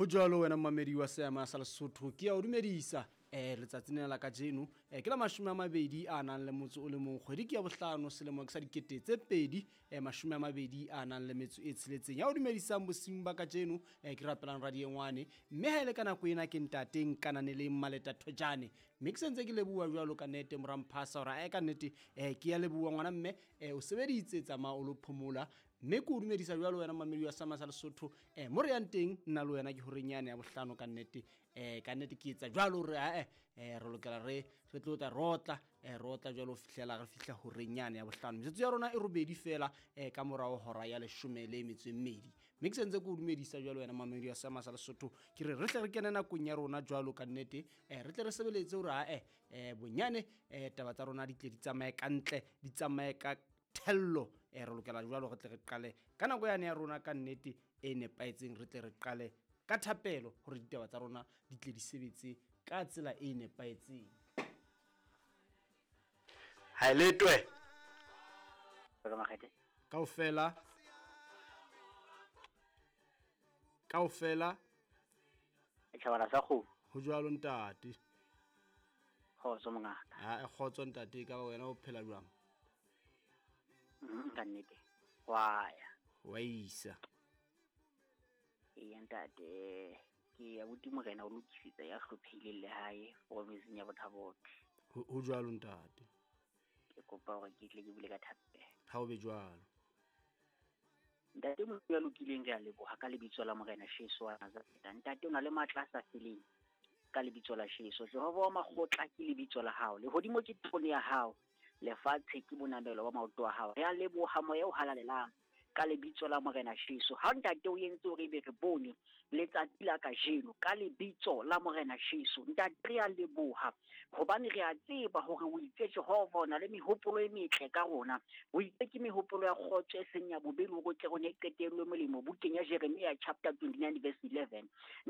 Ho jwalo wena mmamedi wa seama sa Lesotho, ke ya o dumedisa letsatsing lena la kajeno. Ke la 20 a nang le motso o le mong, kgwedi ke ya bohlano, selemo ke sa 2026. Ya o dumedisang bosiung ba kajeno ke rapelang Radiengwane, mme ha ele ka nako ena ke ntateng Kananeleng Maleta Thojane. Mme ke sentse ke leboha jwalo ka nnete moramphasa hore ae ka nnete ke ya leboha ngwana mme o sebeditse tsamaya o lo phomola. Mme ke o dumedisa jwalo wena mmamedi wa seama sa Lesotho. Mo re yang teng nna le wena ke horeng yane ya bohlano ka nnete. Ka nnete ke etsa jwalo hore ae re lokela re tlo tla rotla rotla jwalo ho fihlela re fihla horeng yane ya bohlano. Metsotso ya rona e robedi fela ka morao hora ya 12. Mme ke sentse ke o dumedisa jwalo wena mmamedi wa seama sa Lesotho, ke re tle re kene nakong ya rona jwalo ka nnete. Re tle re sebeletse hore ae bonyane taba tsa rona di tle di tsamaye ka ntle, di tsamaye ka thello. Re lokela jwalo re tle re qale ka nako yane ya rona ka nnete e nepahetseng, re tle re qale ka thapelo hore ditaba tsa rona di tle di sebetse ka tsela e nepahetseng. Ha letwe kaofela kaofela tjhabana sa kgomo. Ho jwalo ntate. Kgotso mongaka. Ha kgotso ntate, ka wena o phela jwang? Ka nnete wa ya wa isa. Eya ntate, ke abuti Morena o lokisetsa ya hlophehileng lehae provinseng ya Botha-Bothe. Ho jwalo ntate. Ke kopa hore ke tle ke bule ka thapelo. Ha o be jwalo. Ntate Modimo ya lokileng, re a leboha ka lebitso la Morena Jesu wa Nazareta. Ntate o na le matla a sa feleng ka lebitso la Jesu. Jehova wa makgotla ke lebitso la hao. Lehodimo ke terone ya hao, lefatshe ke bonamelo ba maoto a hao. Re a leboha moya o halalelang ka lebitso la Morena Jesu. Ha ntate o entse hore ebe re bone letsatsi la kajeno ka lebitso la Morena Jesu. Ntate re a leboha hobane re a tseba hore o itse Jehova o na le mehopolo e metle ka rona. O itse ke mehopolo ya kgotso e seng ya bobe, hore o tle rone qetellwe molemo, bukeng ya Jeremia chapter 29 verse 11.